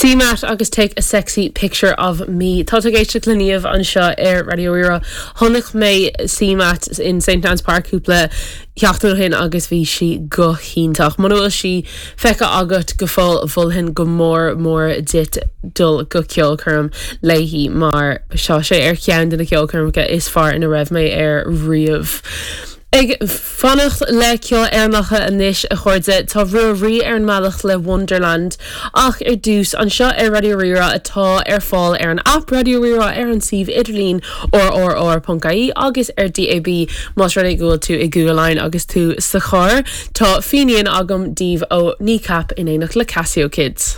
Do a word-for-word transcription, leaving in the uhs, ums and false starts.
CMAT agus take a sexy picture of me. Tá ag éisteacht le Niamh anseo ar Raidió Rí-Rá. Chonaic mé CMAT in St. Anne's Park cúpla seachtain ó shin agus bhí sí go hiontach. Muna bhfuil sí feicthe agat go fóill mholfainn go mór mór duit dul go ceolchoirm léi mar tá sé ar cheann de na ceolchoirmeacha is fearr ina raibh mé ar riamh. Ag fanacht le ceol Éireannach anois a chairde tá Ruairí ar an mbealach le Wonderland ach ar dtús anseo ar Raidió Rí-Rá atá ar fáil ar an app Raidió Rí-Rá ar an suíomh idirlín rrr.ie agus ar DAB más rud é go bhfuil tú i Google Line agus tú sa charr Tá Finian agam daoibh ó Kneecap in éineacht le Casio Kids.